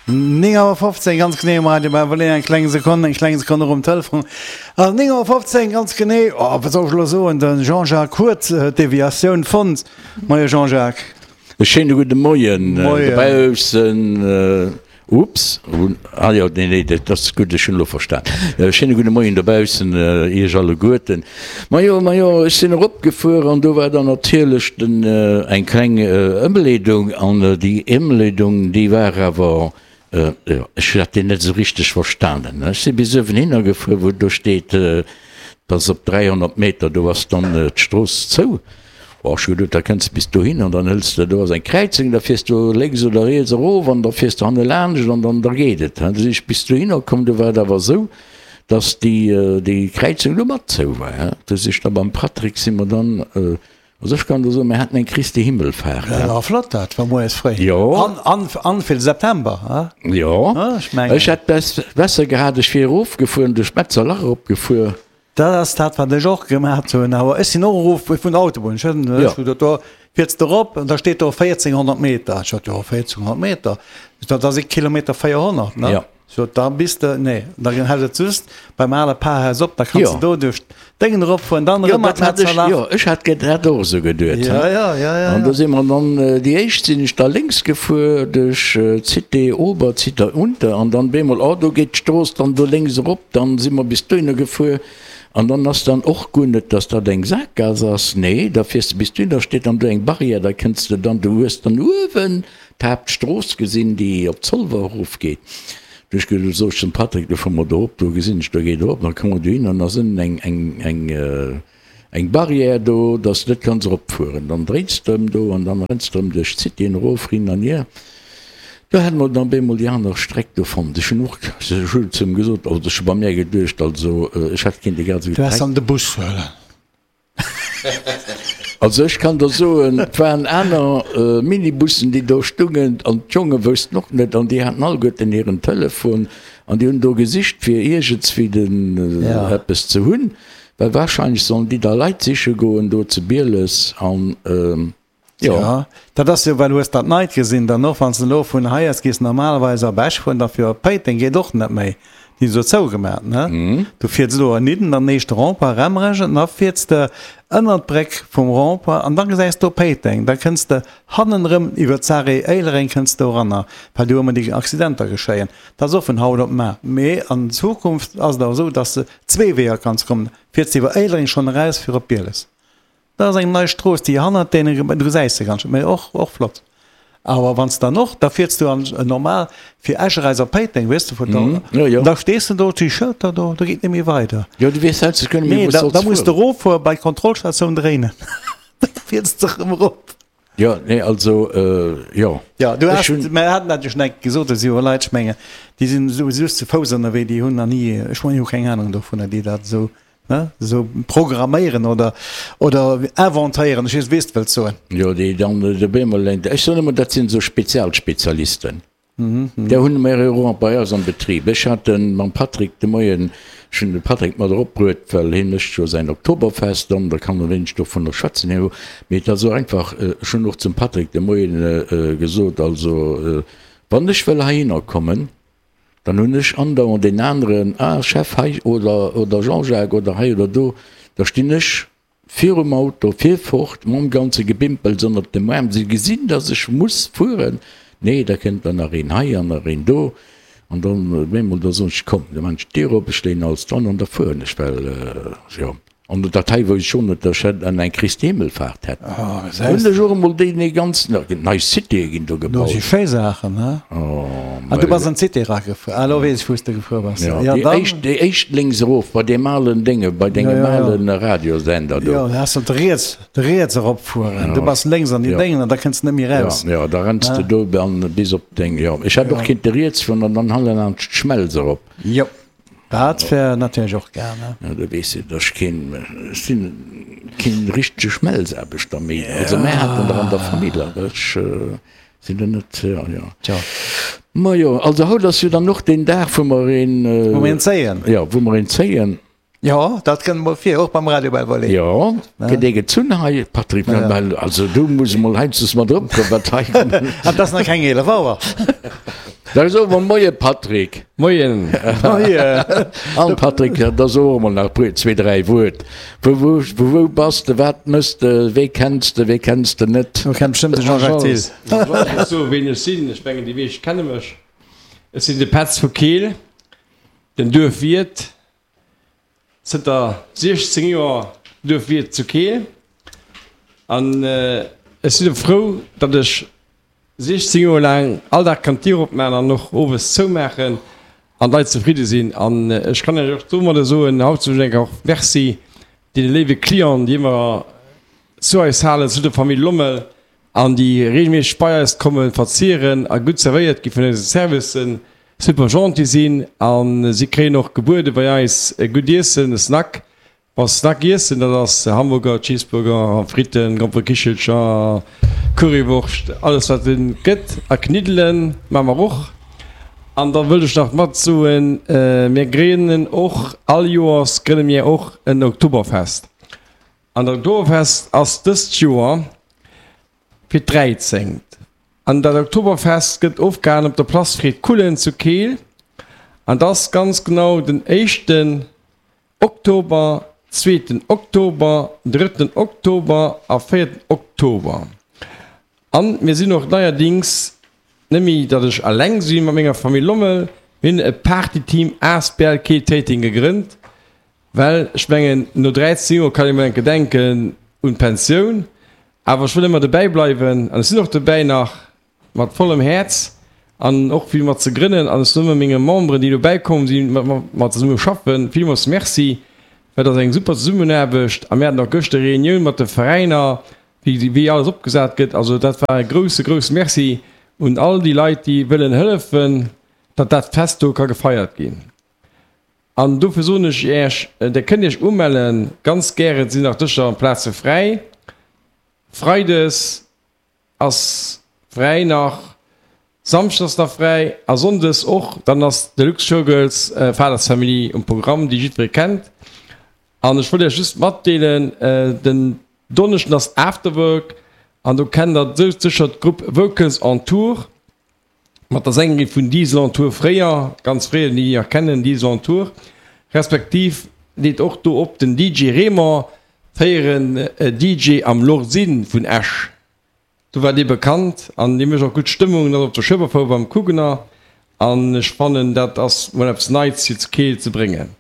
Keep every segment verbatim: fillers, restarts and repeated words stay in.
Néng Auer fofzéng ganz genee um Radio Bäiberlee. Eng kleng Sekonn, eng kleng Sekonn och um Telefon. Also néng Auer fofzéng ganz genee, oh, wat soll ech elo soen, de Jean-Jacques huet d'Deviatioun fonnt. Moie Jean-Jacques. E schéine gudde Moien dobaussen. Ups, ah jo, nee, nee, dat ass gutt, ech hunn elo verstan. E schéine gudde Moien dobaussen Iech alleguerten. Majo, majo, ech sinn eropgefuer an do war dann natierlech den eng kleng Ëmleedung an déi Ëmleedung, déi war awer, jo, ech hat déi net esou richteg verstanen. Ech si bis uewen hinner gefuer, wou do steet, dass op dräihonnert Meter, do ass dann d'Strooss zou. Oh, ech hu geduet, da kënns de bis dohin an dann hëls de, do ass eng Kräizung, da fiers du lénks oder riets erof an da fiers de hanne laanscht an dann, da geet et. Du si ech bis dohinner komm, do war et awer esou, dass déi, déi Kräizung do mat zou war. Du si ech da beim Patrick si mer dann, also ech kann der soen, mir haten eng Christi Himmelfahrt. Dat war flott, dat war moies fréi. Jo. An, an, an fir de September, he? Jo. Ech mengen. Ech hätt besser gehat, ech wier erofgefuer, duerch d'Metzerlach eropgefuer. Dat ass dat, wat ech och gemaat hunn. Awer ech sinn och erof vun der Autobunn. Ech hunn ech hunn do fiers de erop an da steet do véierzénghonnert Meter. Ech sot, jo, véierzénghonnert Meter, dat ass ee Kilometer véierhonnert, ne? Ja. Sot, da bis de, nee, da hält et just beim ale Parhaus op, da kanns de do duerch d'Déngen eropfueren, dann Jo, erëm an dat hat ech, d'Metzerlach. jo, ech hat ge dat och esou geduet, Ja, he. ja, ja, ja, An do ja. si mer dann, déi éischt sinn ech da lénks gefuer duerch d'Cité Ober, d'Cité Unter an dann bemol, oh, do geet d'Strooss dann do lénks erop, dann si mer bis dohinner gefuer an dann ass dann och guer net, dass dat eng Sakgaass ass, nee, da fiers de bis dohin, da steet dann do eng Barrière, da kënns de dann, du hues dann uewen d'Haaptstrooss gesinn, déi op Zolwer erofgeet. Du ech ge sot ech zum Patrick, du fuer mer do erop, do gesinn ech, do geet erop, da komme mer dohin an da ass ënnen eng, eng, eng, eng Barrière do, dass de net kanns eropfueren. Dann dréins de erëm do an dann renns de erëm duerch d'Cité erof, hin an hier. Do hätte mer dann bemol déi aner Streck do fonnt. Ech hunn och, ech hunn zu him gesot, also ech hu bei mär geduecht, also ech hätt kéinte grad esou Du häss direkt. dann de Bus huelen. Also ech kann der soen, et waren aner Minibussen, déi do stungen an d'Jonge woussten och net an déi haten alleguerten hiren Telefon an déi hunn do gesicht fir iergendswéi den eppes ze hunn, well wahrscheinlech sollen déi da Leit siche goen do zu Bieles an jo. Jo, dat ass jo, well hues dat Neit gesinn dann och, wann s de elo vun hei aus gees normalerweis op Esch fueren, da fir op Péiteng geet och net méi. Déi hu se zougemat, ne? Du fiers elo ernidden an den éischte Rond-point Remrech an da fiers de ënnert d'Bréck vum Rond-point an da gesäis do Péiteng. Da kënns de hannen erëm iwwer d'Sarrée Éilereng kënns de eranner, well do ëmmer déi Accidenter geschéien. Dat ass och vun haut op mar. Mee an Zukunft ass et awer esou, dass de zwee Weeër kanns kommen. Fiers de iwwer Éilereng schonn eraus fir op Bieles. Dat ass eng nei Strooss, déi hannert deene, du gesäis se ganz, mee och, och flott. Awer wann s dann och, da fiers du an normal fir Esch eraus op Péiteng, weess de, vun do, Jo, jo. da stees de do, déi Schëlter do, do geet net méi weider. Jo, du weess selbst guer net méi, Nee, wou s da, solls da muss de fueren. eroffuere bei d'Kontrollstatioun dréinen, da fiers de erëm erop. Jo, nee, also, jo. Jo, du Ech has, hunn. mer haten dat jo schonn eng Kéier gesot, do si jo Leit, ech mengen, déi sinn esou just zu Fouss ënnerwee, déi hunn nach ni, ech mengen, déi hu keng Anung dovunner, déi dat esou Ne? Esou programméieren oder, oder inventéieren, ech weess, weess, wëlls soen. Jo, déi dann de bemol eng, ech soen ëmmer, dat sinn esou Spezialspezialisten. Där hunn mer jo och bei eis am Betrib. Ech hat de mam Patrick de Moien, ech hunn de Patrick mat eropbruet, well hie mécht jo säin Oktoberfest an da kann e wéineg dovunner schwätzen herno. Mee et ass och einfach, ech hunn och zum Patrick de Moien gesot, also wann ech wëll heihinner kommen, Dann hunn ech andauernd deen aneren, ah Chef hei oder oder Jean-Jacques oder hei oder do, da stinn ech virum Auto, fir fort mam ganze Gebimpels ënnert dem Aarm, se gesinn, dass ech muss fueren, nee, da kënnt dann nach een hei an nach een do an dann op eemol, da soen ech, komm, da maan ech d'Dier op, ech leeën alles dran an da fueren ech, well jo. An dat hei wou ech schon net ech hätt an eng Christi Himmelfahrt hätt hunn ech och emol déi nee ganz nei Citéë ginn do Do gebaut. si schéi Saachen, he? Oh Ah, du mei. bass an d'Cité eragefuer. Ah, elo weess ech, wou s de gefuer bass. Jo, Ja, déi dann. éischt, déi éischt lénks erof bei deem alen Dénge, bei Ja, dengem ja, ja. alen Radiosender do. Jo, da has de riets, de riets eropfueren. Du Ja, bass lénks an déi ja. Déngen an da kënns de net méi Ja, eraus. ja, da renns de Ne? do an bis op deng, jo. Ech hätt och Ja. kinnte riets fueren an dann hannelaanscht d'Schmelz erop. Jo. Dat wär natierlech och gär, ne? Ja, du weess jo, dass ech keen, ech sinn keen richtege Schmelzaarbechter méi. Also mär haten der an der Famill, awer ech sinn der net, jo, jo. Tjo. Majo, also haut ass jo dann och deen Dag, wou mer een. Wou mer een zéien. Jo, wou mer een zéien. Jo, dat kënnt mol vir, och beim Radio Belle Vallée. Jo, gëtt ee gezunn hei, Patrick, well also du muss emol heiansdo mat eropkommen, wat hei. An 't ass nach keng eelef Auer. Da soe mer Moie Patrick. Moien. Moien. An Patrick, da soe mer nach puer, zwee, dräi Wuert. Vu wou, vu wou bass de, wat mëss de, wee kenns de, wee kenns de net? Du kenns bestëmmt de Jean-Jacques Thill. Ech soe ween ech sinn, ech mengen déi meescht kenne mech. Ech sinn de Petz vu Keel, den Duerfwiert, zënter siechzéng Joer Duerfwiert zu Keel. An ech sinn och frou, datt ech siechzéng Joer laang all Dag kann d'Dier opmaachen an och owes zoumaachen an d'Leit zefridde sinn. An ech kann Iech och domadder soen, haut soen ech enk och Merci deene léiwe Clienten, déi ëmmer zu eis halen, zu der Famill Lommel an déi regelméisseg bei eis kommen, verzieren a gutt zerwéiert gi vun eise Servicen, super gentil sinn a si kréien och gebuede bei eis e gutt Iessen, e Snack. Wa Snack iessen, dat ass Hamburger, Cheeseburger, Fritten, Gromperekichelcher, Currywurscht, alles wat et gëtt. A Kniddelen maache mer och. An da wëllt ech nach mat soen, mir grénnen och, all Joers grënne mir och en Oktoberfest. An dat Oktoberfest ass dëst Joer fir d'dräizéngt. An dat Oktoberfest gëtt ofgehalen op der Place Fred Kullen zu Keel. An dat ass ganz genau den éischten Oktober, zweeten Oktober, drëtten Oktober a véierten Oktober. An mir sinn och neierdings net méi, datt ech alleng si mat menger Famill Lommel, mir hunn e Partyteam asbl Keel Téiteng gegrënnt, well ech mengen, no dräizéng Joer kann ee mol enke denken un d'Pensioun, awer ech wëll ëmmer dobäi bleiwen an ech sinn och dobäi nach mat vollem Häerz an och fir mat ze grënnen an ech soen ëmmer menge Memberen, déi dobäi komm sinn, mat mer mat zesumme schaffen, villmools Merci, well dat ass eng super Zesummenaarbecht a mir haten och gëschter Reunioun mat de Veräiner, wéi wéi alles opgesat gëtt. Also dat war e grousse grousse Merci un all déi Leit, déi wëllen hëllefen, datt dat Fest do ka gefeiert ginn. An dofir soen ech Iech, Der kënnt Iech umellen, ganz gären, et sinn nach Dëscher an Plaze fräi. Freides ass fräi nach, Samschdes ass nach fräi a Sonndes och. Dann ass Deluxe Showgirls Fathers Family um Programm, déi jiddweree kennt. An ech wollt Iech just matdeelen, den Donneschden ass Afterwork an do kennt der sécher d'Grupp Vocals en Tour mat der Sängerin vun Diesel en Tour fréier, ganz fréier, déi déi nach kennen, Diesel en Tour, respektiv leet och do op den D J Raymond, fréieren D J am Lordsinn vun Esch. Do war dee bekannt an dee mécht och gutt Stëmmung, dat op der Schueberfouer beim Kugener. An ech fannen, dat ass mol eppes Neits fir zu Keel ze bréngen.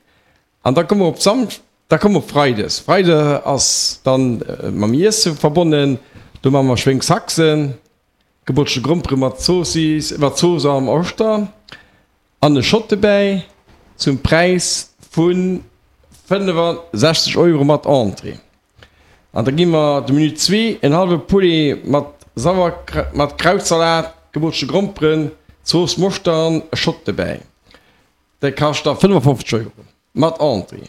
An da komme mer op Samsch, da komme mer op Freides. Freide ass dann mam Iesse verbonnen. Do maache mer Schwéngshaxen, gebotchte Grompere mat Zoossiss, mat Zooss am Oschter an e Shot dobäi zum Präis vu fënnefasechzeg Euro mat Entrée. An da gi mer de Menu zwee, en hallwe Poulet mat Sauer, mat Krautsalat, gebotchte Gromperen, Zooss Moschter an e Shot dobäi. Dee kascht da fënnefofzeg Euro mat Entrée.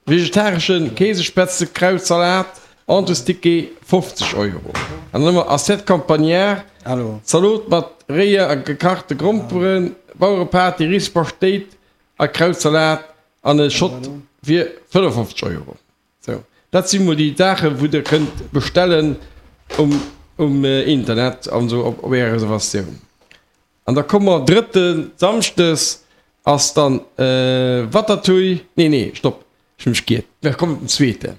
Vegetaresche Käsespätzle, Krautsalat, Entréesticket fofzeg Euro. An dann hu mer Assiette campagnard, Zalot mat réier a gekachte Gromperen, Bauerepaté, Riispaschtéit a Krautsalat an e Shot fir fënnefofzeg Euro. Sou, dat si mol déi Saachen, wou Der kënnt bestellen um, um Internet an esou op, op Är Reservatioun. An da komme mer drëtte Samschdes ass dann Watertouille, nee, nee, stopp, ech hu mech giert, mir kommen op den zweeten,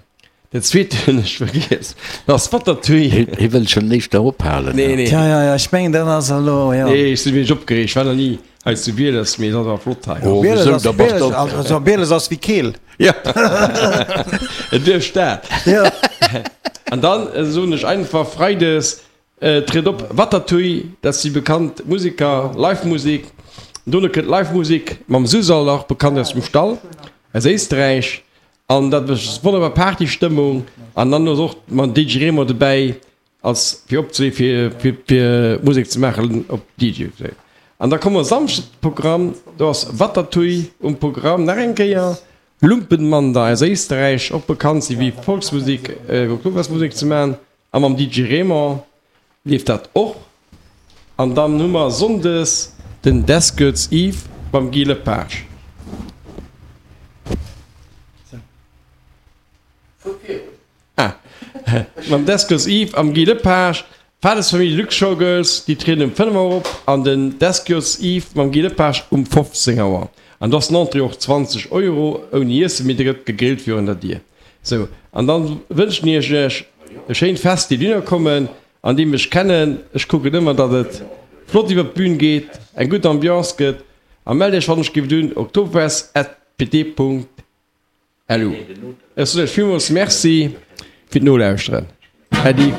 den zweeten hunn ech vergiess, dat ass Watertouille. Hie wëll schonn éischter ophalen. Nee, nee. Ja, ja, ja, ech mengen, dat ass elo, jo. Nee, ech sinn e wéineg opgereegt, ech war nach ni hei zu Bieles, mee et ass awer flott hei. Oh, Bieles wéisou, ass, da bass Bieles, de op. also Bieles ass wéi Keel. Ja, et duerch dat. Ja. An dann soen ech einfach Freides tritt op Watertouille, dat si bekannt Museker, Live-Musek. Dono kënnt Live-Musek mam Susal, och bekannt aus dem Stall aus Éisträich. An dat mécht wonnerbar Partystëmmung. An dann ass och mam D J Remo dobäi als fir opzelee fir fir fir Musek ze maachen op D J. An da komme mer Samschdes Programm, do ass Watertouille um Programm nach eng Kéier, Lumpenmander aus Éisträich, och bekannt si wéi Volksmusek, Oktoberfestmusek ze maachen. A mam D J Raymond leeft dat och. An dann hu mer sonndes den Death Girls Eve mam Guy Lepage. Ah, mam Death Girls Eve am Guy Lepage. Fadesfamill Luxe Showgirls, déi trieden um fënnef Auer op an den Deskyos Yves mam Guy Lepage um fofzéng Auer. An do ass den Entrée och zwanzeg Euro, ouni Iessen, mee da gëtt gegrillt virun der Dier. Sou, an dann wënschen ech iech e schéint Fest, déi dohinner kommen an déi mech kennen. Ech kucken ëmmer, datt et flott iwwer d'Bühn geet, eng gutt Ambiance gëtt a mellt iech wann ech giff un oktoberfest at pt Punkt lu. Ech soen iech villmools Merci fir d'Nolauschteren. Äddi.